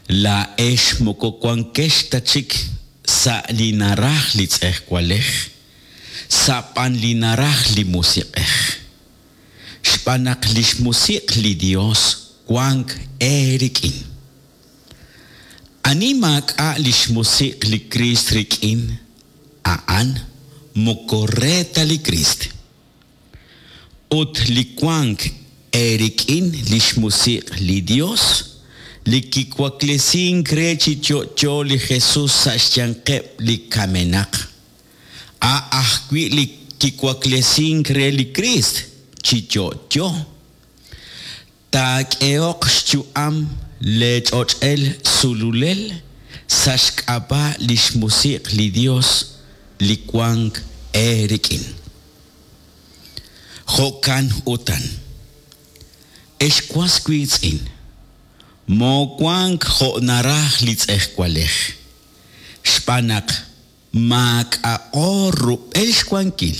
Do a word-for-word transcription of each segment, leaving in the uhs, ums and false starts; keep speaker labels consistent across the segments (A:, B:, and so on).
A: Laa'ex moko wankex ta chik sa' li naraj li tz'ejwalej, sa' b'an li naraj li musiq'ej. Xb'aan naq li xmusiq' li Dios wank eerik'in. Ani maak'a' li xmusiq' li Kriist rik'in, a'an moko re ta li Kriist. Ut li wank eerik'in li xmusiq' li Dios, li kiwaklesink re chi yo'yo li Jesus sa' xyanqeb' li kamenaq, a' ajwi' li kiwaklesink re li Kriist chi yo'yo. Taak'ehoq xyu'am leech'och'el sululel sa' xk'ab'a' li xmusiq' li Dios li wank eerik'in. Jo'kan utan, ex was wiitz'in, moowank jo' naraj li tz'ejwalej, xb'aan naq maak'a'o rub'el xwankil.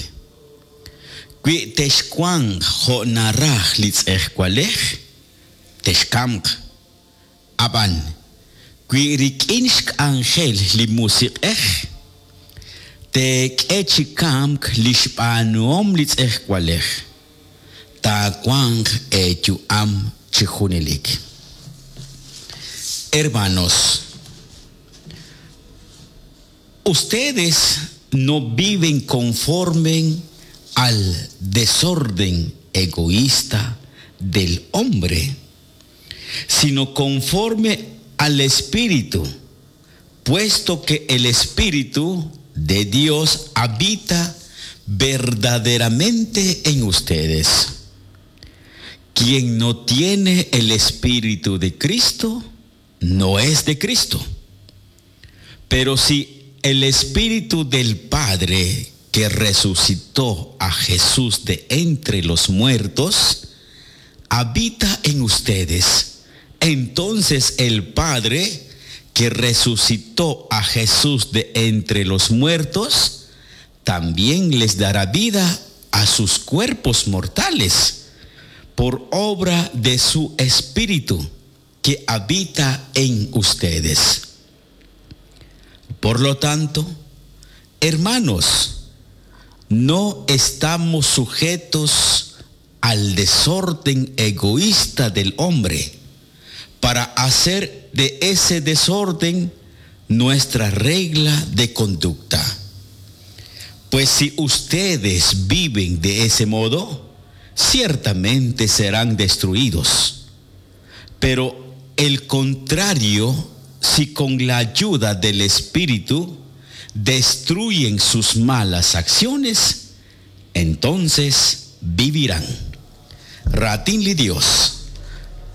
A: Wi texwanq jo' naraj li tz'ejwalej, texkamq. Ab'an, wi rik'in xk'anjel li musiq'ej, teek'e chi kamk li xb'aanuhom li tz'ejwalej, taawanq eeyu'am chi junelik. Hermanos, ustedes no viven conforme al desorden egoísta del hombre, sino conforme al Espíritu, puesto que el Espíritu de Dios habita verdaderamente en ustedes. Quien no tiene el Espíritu de Cristo, no es de Cristo. Pero si el Espíritu del Padre que resucitó a Jesús de entre los muertos, habita en ustedes, entonces el Padre que resucitó a Jesús de entre los muertos, también les dará vida a sus cuerpos mortales por obra de su Espíritu que habita en ustedes. Por lo tanto, hermanos, no estamos sujetos al desorden egoísta del hombre para hacer de ese desorden nuestra regla de conducta. Pues si ustedes viven de ese modo, ciertamente serán destruidos. Pero el contrario, si con la ayuda del Espíritu destruyen sus malas acciones, entonces vivirán. Raatin li Dios,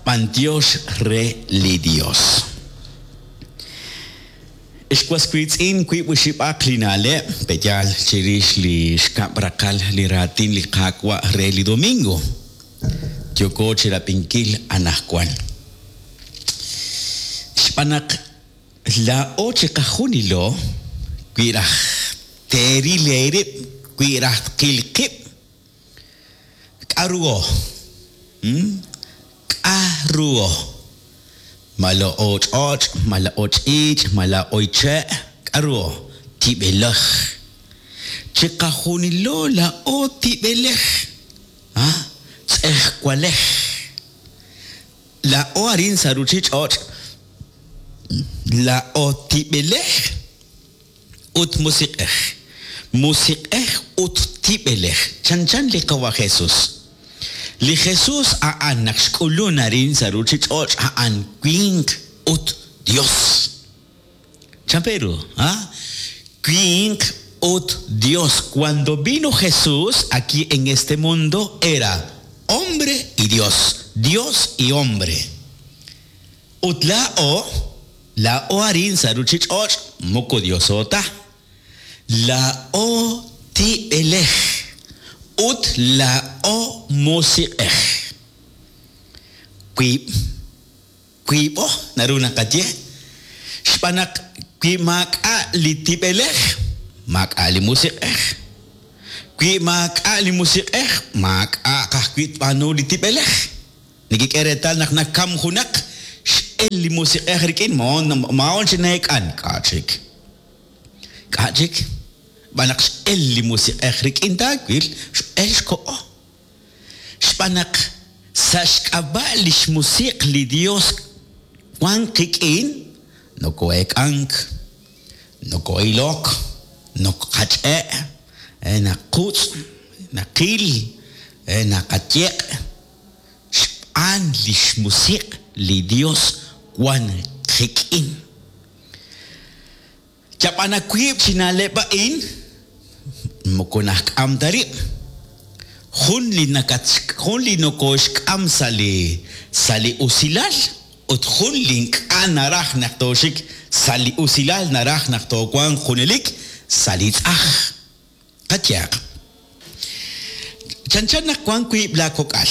A: b'antiox re li Dios. Ex was wiitz'in wiib' oxib'aq li na'leb' pe'yaal chirix li xkab' raqal li raatin li Qaawa' re li domingo. Yooko chirab'inkil anaqwan. Xb'aan naq laa'o chiqajunilo wi raj teeril eerib', wi raj tqil qib', k'aruho? K'aruho? Mala'o ch'och', mala'o ch'iich', mala'o che', k'aruho? Tib'elej. Chiqajunilo la'o tib'elej. Ah, tz'ejwalej. La'o arin sa' ruchich'och', la'o tib'elej ut musiq'ej. Musiq'ej ut tib'elej. Chanchan li Qawa' Jesus. Li Jesus a'an naq xk'ulun arin sa' ruchich'och' a'an winq ut Dios. Chan Pedro, ¿ah? Winq ut Dios. Cuando vino Jesús aquí en este mundo era hombre y Dios. Dios y hombre. Ut laa'o, laa'o arin sa' ruchich'och' moko Diosota. Laa'o tib'elej ut laa'o musiq'ej. Wiib', wiib'o naru naqaye. Xb'aan naq wi maak'a' li tib'elej, maak'a' li musiq'ej. Wi maak'a' li musiq'ej, maak'a' kajwi' tb'aanu li tib'elej. Nikik'e reetal naq nakam junaq, X'el li musiq'ej rik'in maon maon chi naek'an k'a' chik. K'a' chik. Xb'aan naq x'el li musiq'ej rik'in taawil x'el xko'o. Xb'aan naq sa' xk'ab'a' li xmusiq li Dios wan qik'in noko'eek'ank, noko'ilok, nokqach'e', naqutz', naqil, naqayeq' xb'aan li xmusiq li Dios wan qik'in. Yab'ana wiib' chi na'leb' a'in moko najk'am ta rib'. Jun li nakat jun li nokoxk'am sa' li sa' li usilal ut jun li ink'a' naraj naq tooxik sa' li usilal naraj naq toowanq junelik sa' li tz'aj. Qayehaq. Chanchan naq wan wiib' laakok'al.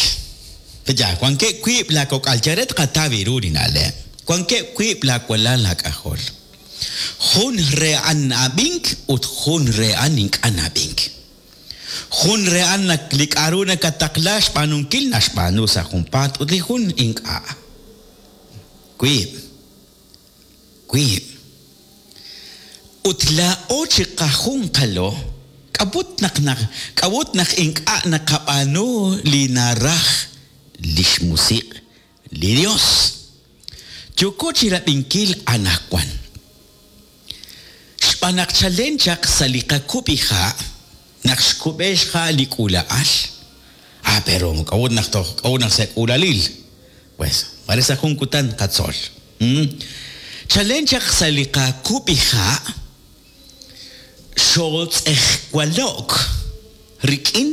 A: Ya, wankeb' wiib' laakok'al yaret qataw ru li na'leb'. Wankeb' wiib' laawalal laak'ajol. Jun re a'an na'ab'ink ut jun re a'an ink'a' na'ab'ink. Jun re a'an nak li k'a'ru nakataqla xb'aanunkil naxb'aanu sa' junpaat ut li jun ink'a'. Wiib'. Wiib'. Ut laa'o chi qajunqalo k'ab'ut naq naq k'ab'ut naq ink'a' naqab'aanu li naraj li xmusiq li Dios. Yooko chi rab'inkil anaqwan. Xb'aan naq chalen chaq sa' li qakub'iha' naq xkub'e xja' li k'uula'al. Ah, pero k'ab'ut naq toj k'ab'ut naq sa' k'uulalil. Pues, mare sa' jun kutan qatzol. Hmm? Chalen chaq sa' li qakub'iha' xotz'ejwalok rik'in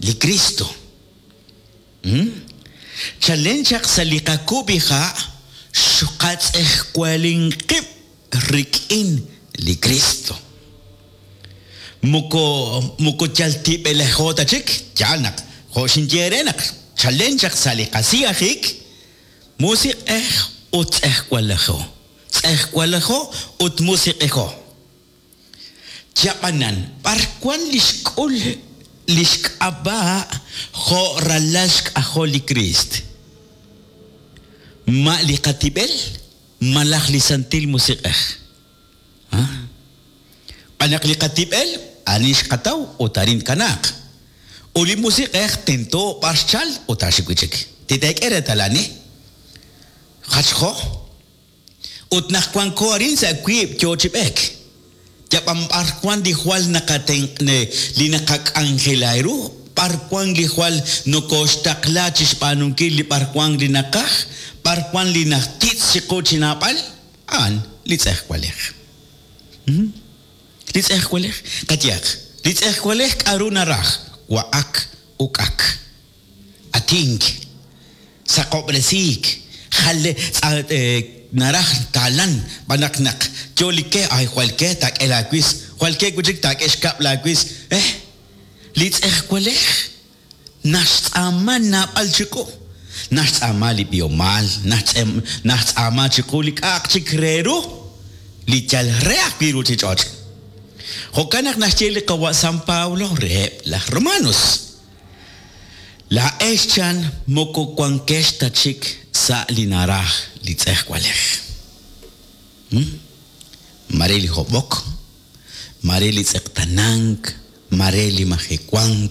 A: li Cristo. Hmm? Chalen chaq sa' li qakub'iha' xqatz'ejwalinqib' rik'in li Cristo. Moko moko yal tib'elejo ta chik, yaal naq jo' xinye re naq chalen chaq sa' li qasiyajik musiq'ej ut tz'ejwalejo. Tz'ejwalejo ut musiq'ejo. Yab'anan b'ar wan li xk'ul li xk'ab'a' jo' ralal xk'ajol li Criist. Ma li qatib'el malaj li santil musiq'ej. B'aan naq li qatib'el arin xqataw ut arin kanaaq. Ut li musiq'ej tento b'ar xchal ut axik wi' chik. Titeek'e reetal ani. Jachjo. Ut naq wanko arin sa' wiib' yoo chi b'eek. Yab'an b'ar wan li jwal naqaten li naqak'anjela ru, b'ar wan li jwal nokoxtaqla chi xb'aanunkil li b'ar wan li naqaj, b'ar wan li najtitz chiqu chi naab'al, a'an li tz'ejwalej. Li tz'ejwalej, qayehaq, li tz'ejwalej k'a'ru naraj, wa'ak uk'ak, atink, saqob'resiik, jale naraj taalan, b'aan naq naq yo li ke, ay jwal ke taak'e laawis, jwal ke wi' chik taak'e xkab' laawis. Eh, li tz'ejwalej naxtz'aama naab'al chiqu. Naxtz'aama li b'ihomal, naxtz'aama chiqu li k'a'aq chik re ru, li yal re ajwi' ruuchich'och'. Jo'kan naq naxye li qawa' San Pablo reheb' laj Romanos. Laa'ex chan moko wankex ta chik sa' li naraj li tz'ejwalej. Mare li hob'ok, mare li tz'eqtanank, mare li majewank,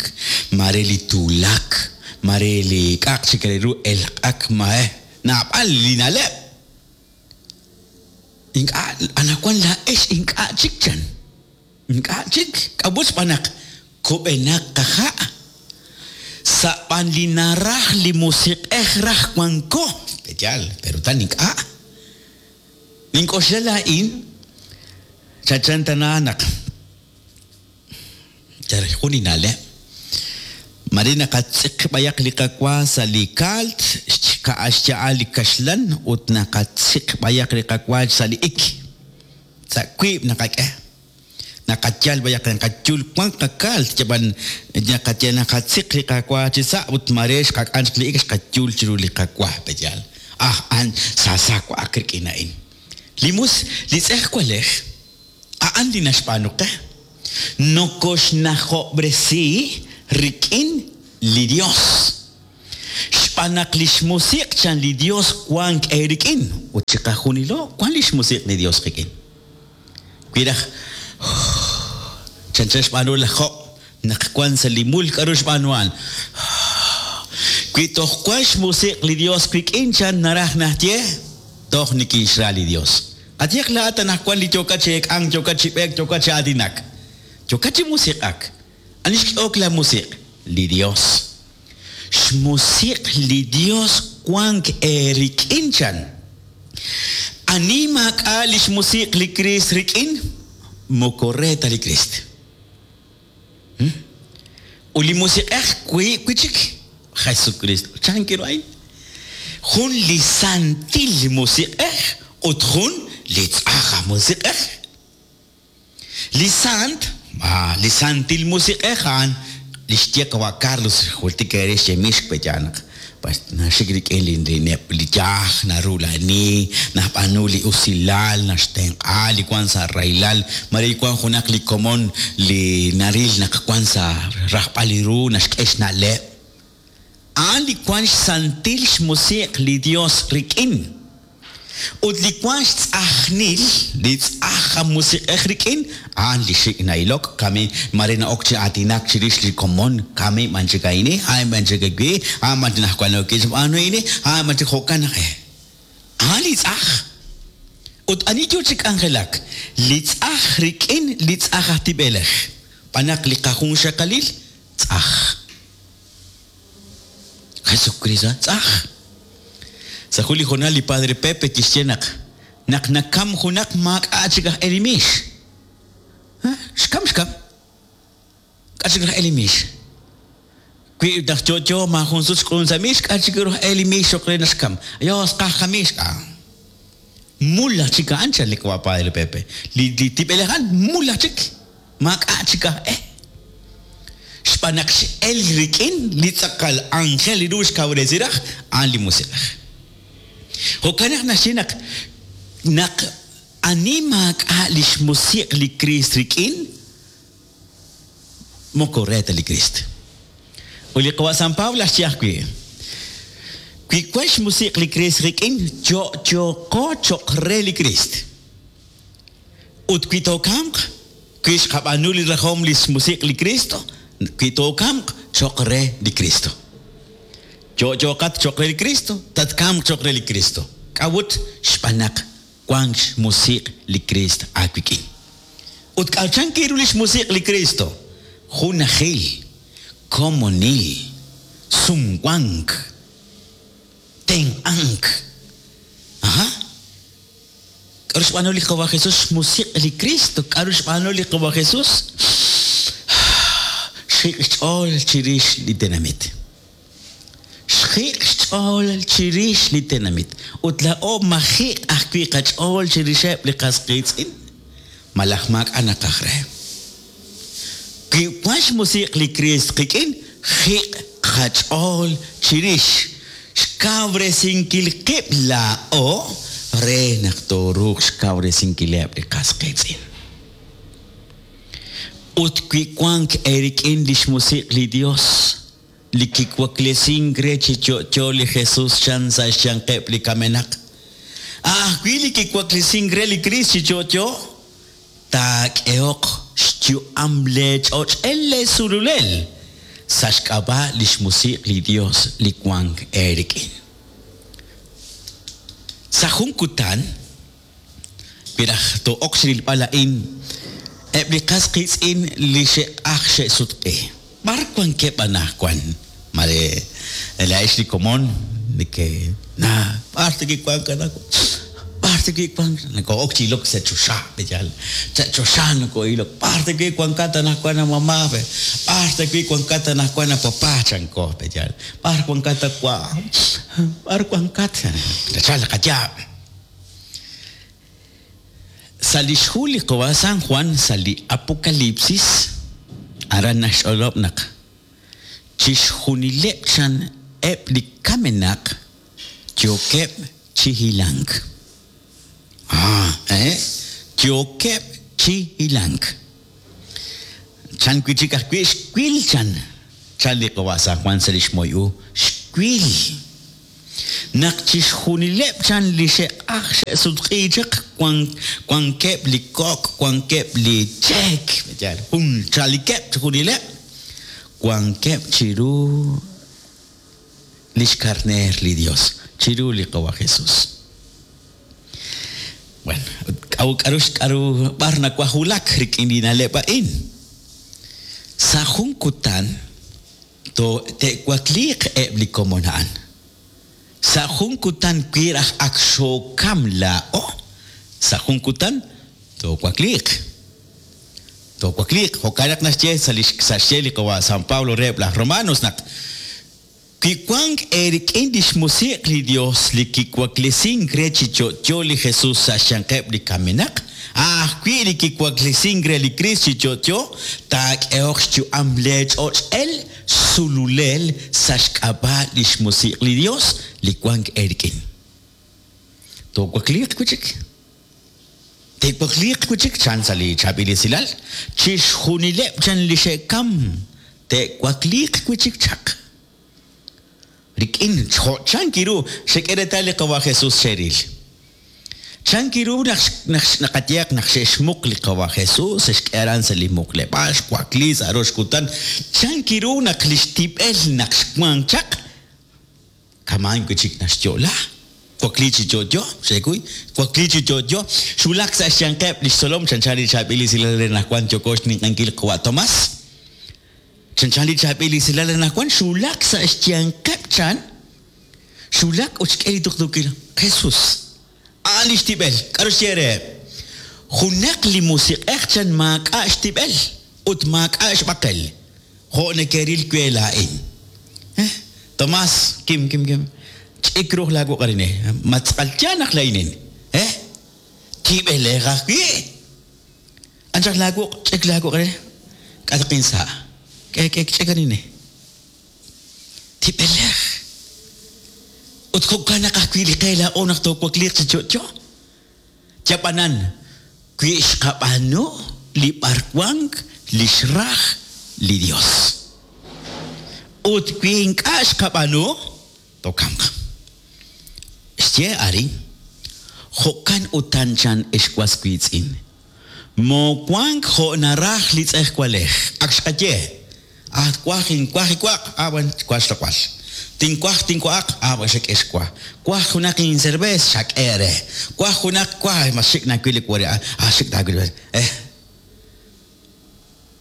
A: mare li tuulak, mare li k'a'aq chik re ru elq'ak mae naab'al li na'leb'. Ink'a' anaqwan laa'ex ink'a' chik chan. Ink'a' chik k'ab'ut xb'aan naq kub'enaq qaja'. Sa' b'an li naraj li musiq'ej raj wanko. Yaal, pero tan ink'a'. Nink'oxla laa'in chachan tana naq yal jun li na'leb'. Mare naqatz'iq b'ayaq li qawa sa' li kaalt, xya'al li kaxlan ut naqatziq b'ayaq li qawa sa' li ik. Sa' wiib' naqak'e. Naqayal b'ayaq naqayul wan qakaalt yab'an naqaye naqatziq li qawa chi sa' ut mare xqak'an chik li ik xqayul chiru li qawa peyal. Ah, an sasa wa'ak rik'in a'in. Li mus li tz'ejwalej a'an li naxb'aanu qe. Nokoxnajob'resi rik'in li Dios. Xb'aan naq li xmusiq' chan li Dios wank eerik'in. Ut chiqajunilo wank li xmusiq' li Dios qik'in. Wi raj chanchan xb'aanu laj Job naq wank sa' li mul k'aru xb'aanu a'an. Wi toj wank xmusiq' li Dios wik'in chan naraj najye toj nikinxra li Dios. Qayehaq laa'at anaqwan li yookat chi eek'ank, yookat chi b'eek, yookat chi aatinak. Yookat chi musiq'ak. Ani xk'ehok la musiq'? Li Dios. Xmusiq' li Dios wank eerik'in chan. Ani maak'a' li xmusiq' li Kriist rik'in, moko re ta li Kriist. Ut li musiq'ej wiib' wi' chik Jesucristo. Chan kiru a'in? Jun li santil musiq'ej ut jun li tz'aj musiq'ej. Li sant, ah, li santil musiq'ej a'an li xye qawa' Carlos jultik eere xyemix peyanaq. Naxik rik'in li li li yaj narulani, najb'aanu li usilal, naxtenq'a li wank sa' rahilal, mare wank junaq li komon li naril naq wank sa' rajb'al li ru naxk'e xna'leb'. A'an li wank xsantil xmusiq' li Dios rik'in. Ut li wank xtz'ajnil, li tz'aj musiq'ej rik'in, a'an li xik' na'ilok, kami mare na'ok chi aatinak chirix li komon, kami man chik a'ini, a'an man chik awi, a'an man najwan ok xb'aanu ini, a'an man chik jo'kan naq eh. A'an li tz'aj. Ut ani yo chi k'anjelak, li tz'aj rik'in li tz'aj aj tib'elej. B'anaq li qajunxaqalil tz'aj. Jesucristo tz'aj. Sa' jun li jonal li Padre Pepe kixye naq naq nakam junaq maak'a' chik aj elimix. Xkam xkam. K'a chik aj elimix. Wi naq yo'yo maajun sut xk'ulun sa' mix, k'a chik aj elimix xoq re naxkam. Yos qajamix k'a. Mula chik a'an chan li qawa' Padre Pepe. Li li tib'elej a'an mula chik. Maak'a' chik aj eh. Xb'aan naq x'el rik'in li tz'aqal ángel li ru xkawresi raj a'an li musiq'ej. Jo'kan naq naxye naq naq ani maak'a' li xmusiq' li Kriist rik'in, moko re ta li Kriist. Ut li qawa' San Pablo xye ajwi', wi wank xmusiq' li Kriist rik'in, yo'yoqo cho'q re li Kriist. Ut wi tookamq, wi xqab'aanu li rajom li xmusiq' li Cristo, wi tookamq cho'q re li Cristo. Yo'yoqat cho'q re li Cristo, tatkamq cho'q re li Cristo. K'a'ut xb'aan naq wank xmusiq' li Kriist aawik'in. Ut k'a'chan kiru li xmusiq' li Cristo? Junajil, komonil, sumwank, tenq'ank. Aha. K'aru xb'aanu li qawa' Jesús xmusiq' li Cristo? K'aru xb'aanu li qawa' Jesús? Xjiq' xch'ool chirix li tenamit. Xjiq' xch'ool chirix li tenamit. Ut laa'o majiq' ajwi' qach'ool chirixeb' li qas qiitz'in. Malaj maak'a' naqaj re. Wi wank xmusiq' li Kriist qik'in, jiq' qach'ool chirix xkawresinkil qib' laa'o re naq tooruuq xkawresinkileb' li qas qiitz'in. Ut wi wank eerik'in li xmusiq' li Dios, li kiwaklesink re chi yo'yo li Jesús chan sa' xyanqeb' li kamenaq. Ajwi' li kiwaklesink re li Kriist chi yo'yo, taak'ehoq xyu'am leech'och'el leesululel sa' xk'ab'a' li xmusiq' li Dios li wank eerik'in. Sa' jun kutan, wi raj to'ok xrilb'al a'in, eb' li qas qiitz'in li xe'q'aj xe'sutq'i. B'ar wankeb' anaqwan? Mare laa'ex li komon neke na b'ar takiwank anaqwan? B'ar takiwank? Nako'ok chi ilok sa' choxa, peyal. Sa' choxa nako'ilok. B'ar takiwankat anaqwan a mamá, pe. B'ar takiwankat anaqwan a papá, chanko, peyal. B'ar wankat akwa. B'ar wankat. Tachal qayaab'. Sa' li xhu li qawa' San Juan sa' li Apocalipsis, aran naxch'olob' naq chixjunileb' chan eb' li kamenaq yookeb' chi hilank. Ah, eh? Yookeb' chi hilank. Chan wi' chik ajwi' xwil chan. Chan li qawa' San Juan sa' li xmoy u, xwil. Naq chixjunileb' chan li xe'q'aj xe'sutq'i chaq wankeb' li kok', wankeb' li cheek, jun chalikeb' chixjunileb', wankeb' chiru lix karneer li Dios, chiru li Qawa Jesús. Bueno, k'aru k'aru k'aru b'ar nawajulak rik'in li na'leb' a'in. Sa' jun kutan to te'wakliiq eb' li komon a'an. Sa' jun kutan wi raj ak xookam laa'o, sa' jun kutan toowakliiq. Toowakliiq, jo'kan naq naxye sa' li sa' xye li Qawa San Pablo reheb' laj Romanos naq wi wank eerik'in lix musiq li Dios li kiwaklesink re chi yo'yo li Jesús sa' xyanqeb' li kamenaq, ajwi' li kiwaklesink re li Cristo chi yo'yo, taak'ehoq xyu'am leech'och'el sululel sa' xk'ab'a' lix musiq li Dios li wank eerik'in. Toowakliiq wi' chik. Te'wakliiq wi' chik chan sa' li chaab'il esilal, chixjunileb' chan li xe'kam, te'wakliiq wi' chik chaq. Rik'in jo' chan kiru xek'e reetal li Qawa Jesús xeril. Chan kiru naq naq naqayeaq naq xe'xmuq li Qawa Jesús, xe'xk'e aran sa' li muqleb'aal, xwakli sa' rox kutan. Chan kiru naq li xtib'el naq xwank chaq, kamaan wi' chik naxyo'la. Wakli chi yo'yo, xekuy, wakli chi yo'yo, xwulak sa' xyanqeb' li xtzolom chanchan li chaab'il esilal re naq wan yoko xninq'enkil Qawa Tomás. Chanchan li chaab'il esilal re naq wan xwulak sa' xyanqeb' chan, xwulak ut xk'e li tuqtuukil Jesús. A'an li xtib'el, k'aru xye reheb'? Junaq li musiq'ej chan maak'a' xtib'el ut maak'a' xb'aqel. Jo' nekeril we laa'in. Eh, Tomás, kim kim kim. Ch'ik ruj laawu qarine. Matz'al naq laa'inin. Eh? Tib'elej ajwi'. Anchaq laawu ch'ik laawu qarine. K'atqin sa'. K'e k'e ch'ik arine. Tib'elej. Ut jo'kan naq ajwi' li qe laa'o naq toowakliiq chi yo'yo. Yab'anan, wi xqab'aanu li b'arwank li xraj li Dios. Ut wi ink'a' xqab'aanu, tokamq. Xye arin, jo'kan utan chan ex was wiitz'in. Mowank jo' naraj li tz'ejwalej. Ak xqaye. Ah, waj inwaj iwaq. Ah, bueno, waj xloq'al. Tinwaj tinwaq. Ah, bueno, xak'e xwa. Waj junaq incervez, xak'e re. Waj junaq waj, mas xik nawil li wari. Ah, xik nawil. Eh.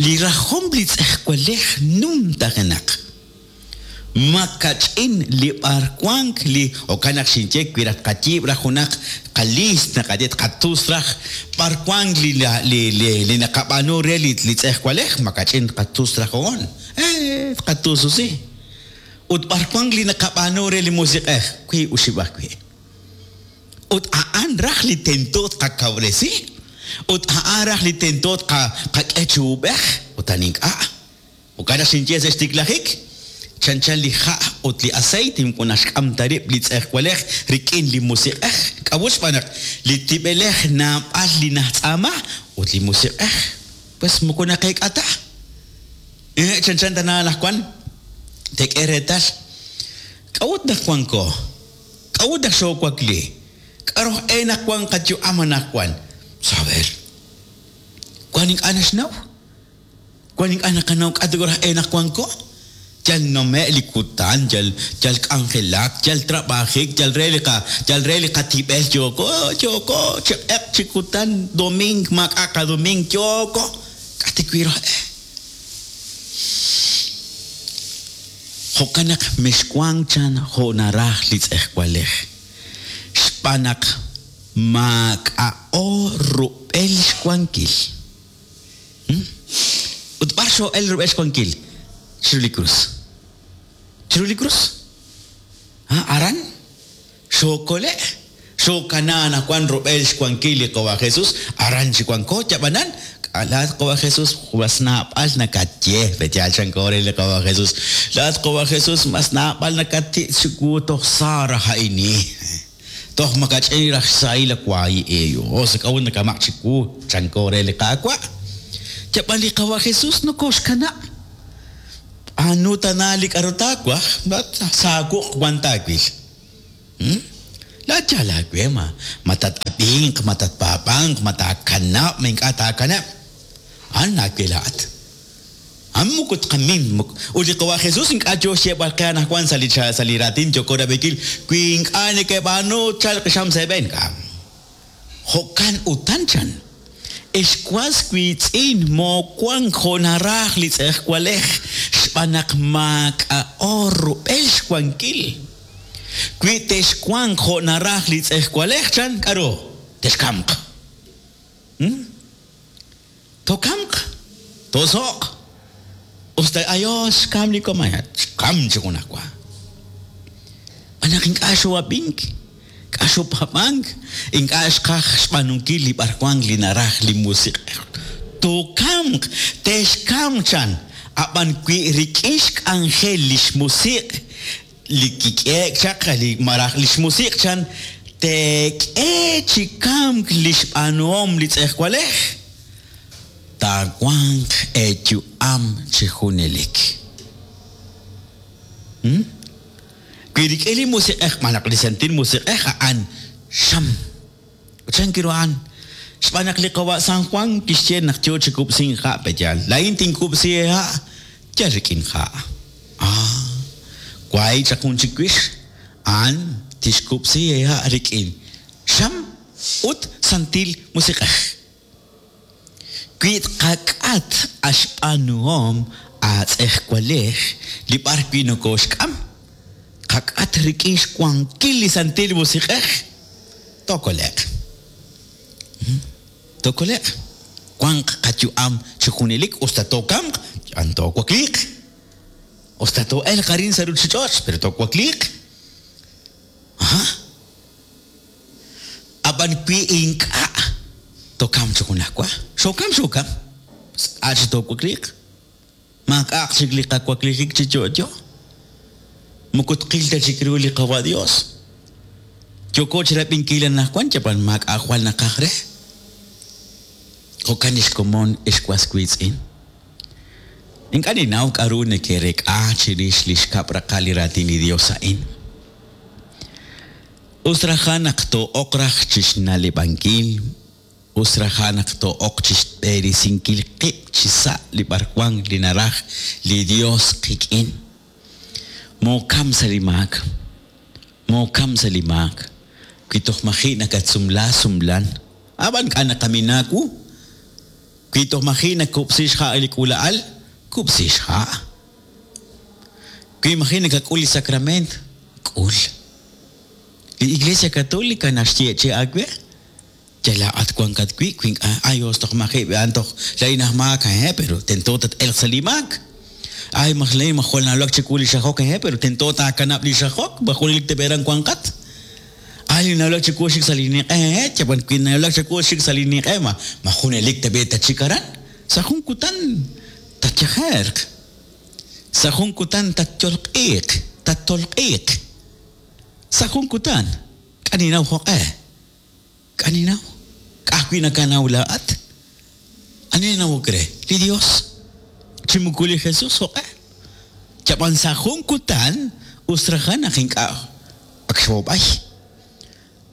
A: Li rajom li tz'ejwalej numtajenaq. Makach'in li b'arwank li jo'kan naq xinye wi raj qayiib' raj junaq qalist naqaye qatus raj b'arwank li li li li naqab'aanu re li li tz'ejwalej makach'in qatus raj oon. Eh, qatususi. Ut b'arwank li naqab'aanu re li musiq'ej wi uxib' ajwi'. Ut a'an raj li tento qakawresi. Ut a'an raj li tento qak'e chi ub'ej. Ut an ink'a'. Jo'kan naq xinye sa' xtiklajik. Chanchan li ja' ut li aceite moko naxk'am ta rib' li tz'ejwalej rik'in li musiq'ej. K'a'ut xb'aan naq li tib'elej naab'al li najtz'aama ut li musiq'ej pues moko naqeek'a ta. Eh, chanchan tana anaqwan tek'e reetal. K'a'ut naq wanko? K'a'ut naq xoowakli? K'aru e naq wan qayu'am anaqwan? Saber. Wan ink'a' naxnaw? Wan ink'a' naqanaw k'a'ut raj e naq wanko? Yal nome' li kutan, yal yal k'anjelak, yal trabajik, yal re li qa yal re li qatib'el yoko, yoko, chi q'eq chi kutan, doming, maak'a' qadoming, yoko. K'ati wi raj e. Jo'kan naq mexwank chan jo' naraj li tz'ejwalej. Xb'aan naq maak'a'o rub'el xwankil. Hmm? Ut b'ar xo'el rub'el xwankil? Chiru li krus. Chiru li krus. Ah, aran xookole', xookana anaqwan rub'el xwankil li Qawa Jesús, aran chi wanko yab'anan, laat Qawa Jesús mas naab'al nakatye, b'etyal chanko re li Qawa Jesús. Laat Qawa Jesús mas naab'al nakati' chiwu toj sara ha'ini. Toj makach'in raj xsahil waayi eyo. O sa k'a'ut nakamaq chiwu chanko re li Qaawa'. Yab'an li Qawa Jesús nokoxkanab'. Anu tana li k'aru taawaj, saawuq wan taawil. Laa'at yaal aawe ma ma tat'ab'inq, ma tatpaab'anq, ma taakanab', ma ink'a' taakanab'. A'an aawe laa'at. A'an moko tqamin ut li qawa' Jesús ink'a' yo xyeeb'al qe anaqwan sa' li sa' li raatin yoko rab'inkil wi ink'a' nekeb'aanu tchalq xam sa' eeb'een. Ink'a'. Jo'kan utan chan. Ex was wiitz'in moowank jo' naraj li tz'ejwalej xb'aan naq maak'a'o rub'el xwankil. Wi texwanq jo' naraj li tz'ejwalej chan k'aru texkamq. Tokamq, toso'q. Usta ayos xkam li komaya, xkam chi junajwa. B'an naq ink'a' xoo'ab'ink, ink'a' xoopab'ank, ink'a' xqaj xb'aanunkil li b'arwank li naraj li musiq'ej. Tokamq, texkamq chan, ab'an wi rik'in xk'anjel li xmusiq' li kik'eek chaq li maraj li xmusiq' chan teek'e chi kamk li xb'aanuhom li tz'ejwalej taawanq eeyu'am chi junelik. Wi rik'in li musiq'ej malaj li santil musiq'ej a'an xam. Chan kiru a'an xb'aan naq li qawa' San Juan kixye naq yo chi kub'sink ha' peyaal. Laa'in tinkub'si ha' yal rik'in ha'. Ah, waay chaq jun chik wix a'an tixkub'si ha' rik'in xam ut santil musiq'ej. Wi tqak'at axb'aanuhom aatz'ejwalej li b'ar wi nokooxk'am, qak'at rik'in xwankil li santil musiq'ej, tookole'q. Tookole'q. Wanq qayu'am chi junelik usta tookamq, yan toowakliiq. Usta too'elq arin sa' ruuchich'och', pero toowakliiq. Aha. Ab'an wi ink'a' tookam chi junajwa. Xookam, xookam. K'a' chi toowakliiq. Maak'a'aq chik li qawaklijik chi yo'yo. Moko tqil ta chik ru li qawa' Dios. Yoko chi rab'inkil anaqwan yab'an maak'a' jwal naqaj re. Jo'kan xkomon ex was wiitz'in. Ink'a' ninnaw k'aru neke'rek'a chirix li xkab' raqal li raatin li Dios a'in. Us raja naq too'oq raj chixna'leb'ankil, us raja naq too'oq chixb'eresinkil qib' chi sa' li b'arwan li naraj li Dios qik'in. Mookam sa' li maak, mookam sa' li maak. Wi toj maji' nakatsumla sumlan, ab'an k'a' naqaminaawu. Wi toj maji' nakub'si xha' li k'uula'al, kub'si xha'. Wi maji' nakak'ul li sacrament, k'ul. Li Iglesia Católica naxye chi aawe, yalaat wankat wi' wi ink'a' ayos toj maji' b'an toj laa'in aj maak, eh, pero tento tat-elq sa' li maak. Ay, maj laa'in ma jwal nawulak chiwu li xajok, eh, pero tento taakanab' li xajok, ma junelik teb'eran wanqat. Ay, nawulak chiwu xik sa' li ninq'e, eh, yab'an wi nawulak chiwu xik sa' li ninq'e, ma ma junelik teb'e tachik aran. Sa' jun kutan tatyajerq. Sa' jun kutan tatyolq'iiq, tattolq'iiq. Sa' jun kutan k'a' ninaw jo'q'e. K'a' ninaw. K'a'ajwi' nakanaw laa'at. Ani nanawok re? Li Dios. Chi moko li Jesús jo'q'e. Yab'an sa' jun kutan us raja naq ink'a' ak xwoob'ay.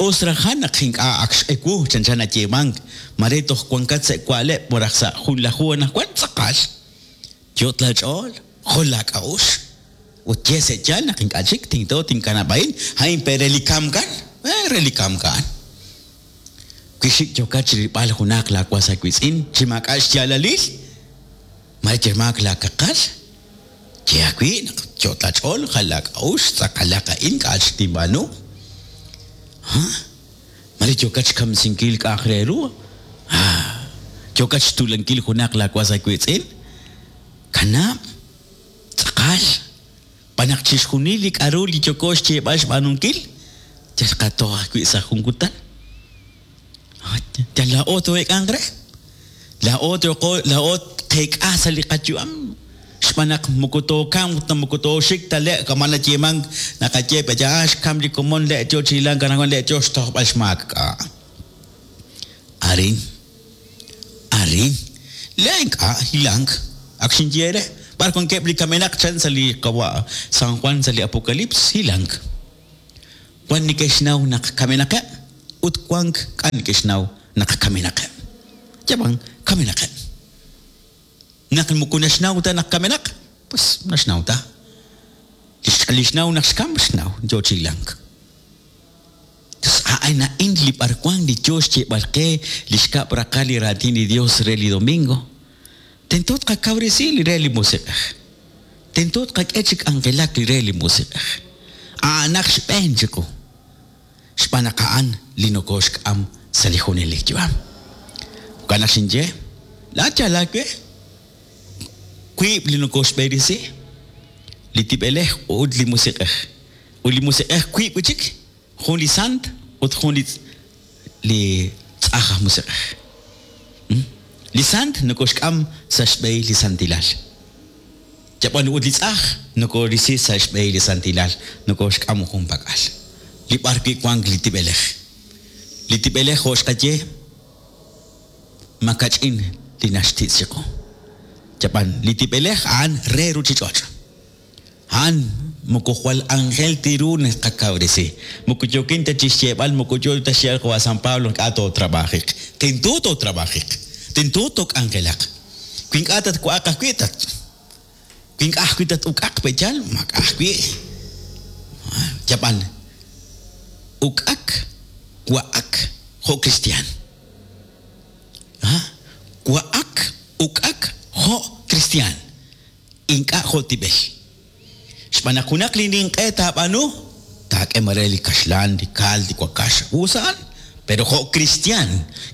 A: Us raja naq ink'a' ak x'ewu chanchan nayeemank. Mare toj wankat sa' wa'leb' maraj sa' jun laju anaqwan tz'aqal. Yot laach'ool, jol laak'a'uxl. Ut ye sa' yaal naq ink'a' chik tinto tinkanab' a'in, a'in pe re li kamkan, eh, re li kamkan. Wi xik yokat chi rilb'al junaq laawas aawiitz'in chi maak'a' xyaalalil, mare yemaak laakaqal, ye awi' naq yot laach'ool, jal laak'a'uxl, tz'aqalaq a'in k'a' chik tinb'aanu. Ha? Mare yokat xkamsinkil k'a'aq re ru, ah, yokat xtulankil junaq laawas aawiitz'in, kanab', tz'aqal. B'an naq chixjunil li k'aru li yoko xyeeb'al xb'aanunkil, yal qatoj ajwi' sa' jun kutan. Yal laa'o too'eek'anq re. Laa'o tooqo laa'o qeek'a sa' li qayu'am. Xb'aan naq moko tookamq ta moko tooxik ta le' kama nayeemank naqaye pe ya xkam li komon le' yo chi hilank anaqwan le' yo xtojb'al xmaak k'a'. Arin, arin, le' ink'a' hilank ak xinye re. B'ar wankeb' li kamenaq chan sa' li qawa' San Juan sa' li Apocalipsis hilank. Wan neke'xnaw naq kamenaqeb' ut wank k'a neke'xnaw naq kamenaqeb'. Yab'an kamenaqeb'. Naq moko naxnaw ta naq kamenaq, pues naxnaw ta. Li xnaw naq xkam xnaw yo chilank. A'an a'in li b'arwan li yo xyeeb'al qe li xkab' raqal li raatin li Dios re li domingo. Tento tqakawresi li re li musiq'ej. Tento tqak'e chi k'anjelak li re li musiq'ej. A'anaq xb'een chiqu. Xb'aan naq a'an li nokoxk'am sa' li junelik yu'am. Jo'kan naq xinye, laa'at yal aawe wiib' li nokoxb'erisi, li tib'elej ut li musiq'ej. Ut li musiq'ej wiib' wi' chik, jun li sant ut jun li li tz'aj aj musiq'ej. Li sant nokoxk'am sa' xb'ehil li santilal. Yab'an ut li tz'aj nokorisi sa' xb'ehil li santilal, nokoxk'am jun pak'al. Li b'ar wi' wank li tib'elej. Li tib'elej jo' xqaye makach'in li naxtitz' chiqu. Yab'an li tib'elej a'an re ruchich'och'. A'an moko jwal ángel tiru naqakawresi. Moko yokin ta chi xyeeb'al, moko yo ta xyeeb'al jo' San Pablo ink'a' tootrabajiq. Tento tootrabajiq. Tento took'anjelaq. Wi ink'a' tatwa'aq ajwi' tat. Wi ink'a' ajwi' tat-uk'aq pe'yal, mak'a ajwi'. Yab'an uk'ak, wa'ak jo' cristian. Wa'ak, uk'ak jo' cristian. Ink'a' jo' tib'el. Xb'aan naq junaq li ninq'e taab'aanu, taak'e mare li kaxlan, li kal, li wakax, usaan. Pero jo' cristian,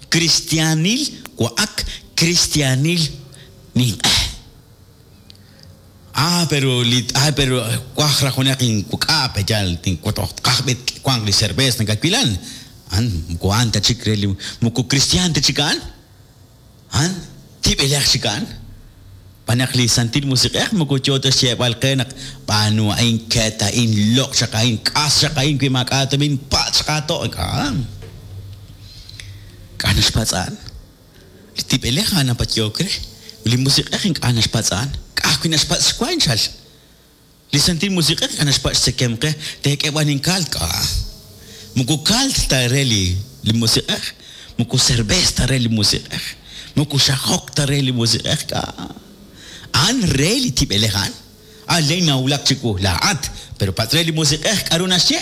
A: cristianil wa'ak, cristianil ninq'e. Ah, pero li ah, pero waj raj junaq inkuk'a pe'yal tinwatoj tqaj b'it wanq li cerveza nakakwilan. An moko a'an ta chik re li moko cristian ta chik a'an. An tib'elej chik a'an. Xb'aan naq li Santil Musiq'ej moko yo ta xyeeb'al qe naq b'aanu a'in ket a'in loq' chaq a'in k'as chaq a'in wi maak'a' tumin patz' chaq aato'. Ink'a'. K'a' naxpatz'an. Li tib'elej a'an napatyook re. Li musiq'ej ink'a' naxpatz'an. K'a' ajwi' naxpatz' xwa inchal. Li Santil Musiq'ej ink'a' naxpatz' xtzekemq qe, teek'e b'an inkal k'a'. Moko kalt ta re li li musiq'ej, moko cerveza ta re li musiq'ej, moko xajok ta re li musiq'ej k'a'. A'an re li tib'elej a'an. A'an le nawulak chiwu laa'at, pero patz' re li musiq'ej k'aru naxye.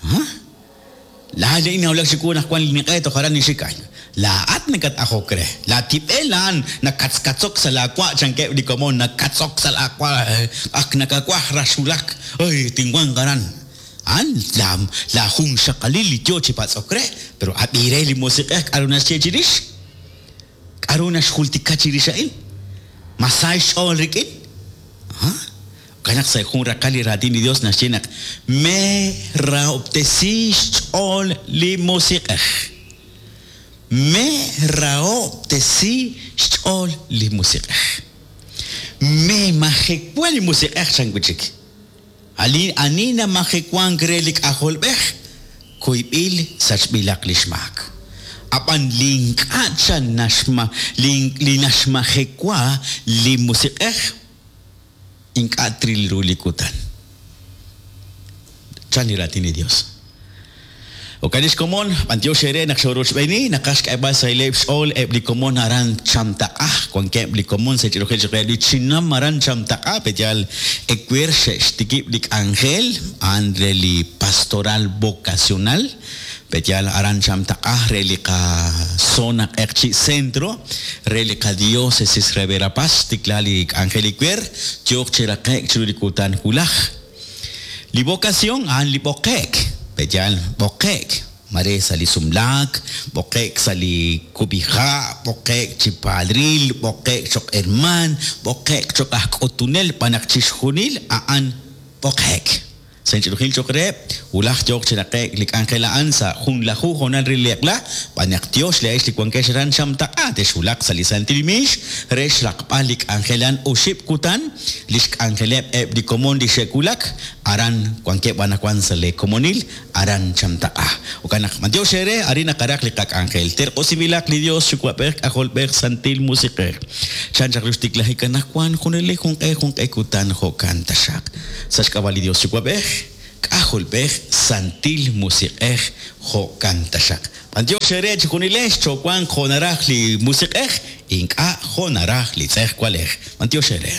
A: Ha? Laa le nawulak chiwu naq wan li ninq'e toj aran nixik ay. Laa'at nakat-ajok re. La tib'el a'an nakatzkatzok sa' laawa' chankeb' li komon, nakatzok sa' laawa' ak nakawaj raxulak. Ay, tinwanq aran. A'an la la jun xaqalil li yo chi patz'ok re, pero ab'i re li musiq'ej k'aru naxye chirix. K'aru naxjultika chirix a'in. Masay xch'ool rik'in. Ha? Jo'kan naq sa' jun raqal li raatin li Dios naxye naq merahob'tesi xch'ool li musiq'ej. Merahob'tesi xch'ool li musiq'ej. Memajekwa li musiq'ej chan wi' chik. Ali ani namajewank re li k'ajolb'ej, kuyb'il sachb'ilaq li xmaak. Ab'an li ink'a' chan naxma li li naxmajekwa li musiq'ej ink'a' tril ru li kutan. Chan li raatin li Dios. Jo'kan lix komon, b'antiox eere naq xorochb'eeni, naqaj xk'eeb'al sa' ileb' xch'ool eb' li komon aran Chamtaq'a, wankeb' li komon sa' ch'irujil chik li chinam aran Chamtaq'a, pe'yal ewer xe'xtikib' li k'anjel a'an re li pastoral vocacional, pe'yal aran Chamtaq'a re li qazona Q'eqchi' Centro, re li qadiócesis re Verapaz, xtikla li k'anjel ewer, yooq chi raqe'k chiru li kutan wulaj. Li vocación a'an li b'oqe'k, pe'yal b'oqe'k, mare sa' li sumlaak, b'oqe'k sa' li kub'iha', b'oqe'k chi padril, b'oqe'k choq' herman, b'oqe'k choq' aj k'utunel, b'an naq chixjunil a'an b'oqe'k. Sa' inch'ilujil choq' reheb', wulaj yooq chi raqe'k li k'anjel a'an sa' junlaju honal re li eq'la, b'an naq tiox li a'ix li wankex aran Chamtaq'a, texwulaq sa' li Santil Miix re xraqb'al li k'anjel a'an oxib' kutan, li xk'anjeleb' eb' li komon li xe'wulak, aran wankeb' anaqwan sa' le komonil, aran Chamtaq'a. Jo'kan naq b'antiox eere, arin naqaraq li qak'anjel. Terq'osinb'ilaq li Dios Yuwa'b'ej, K'ajolb'ej, Santil Musiq'ej. Chan chaq lu xtiklajik anaqwan, junelik junq'e junq'e kutan jo'kan taxaq. Sa' xk'ab'a' li Dios Yuwa'b'ej, K'ajolb'ej, Santil Musiq'ej, jo'kan taxaq. B'antiox eere chejunilex, chowanq jo' naraj li Musiq'ej, ink'a' jo' naraj li tz'ejwalej. B'antiox eere.